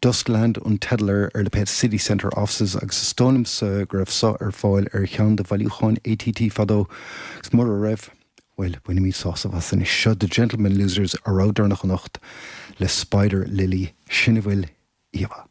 Dustland an teideal air ar lipéad City Centre Offices agus is dóigh liomsa go raibh seo ar fáil ar cheann de bhailiúcháin ATT fadó agus mura raibh, bhuel, bainimid sásamh as anois. Seo The Gentlemen Losers, a rogha deireanach anocht le Spider Lily. Sin a bhfuil, íomhá.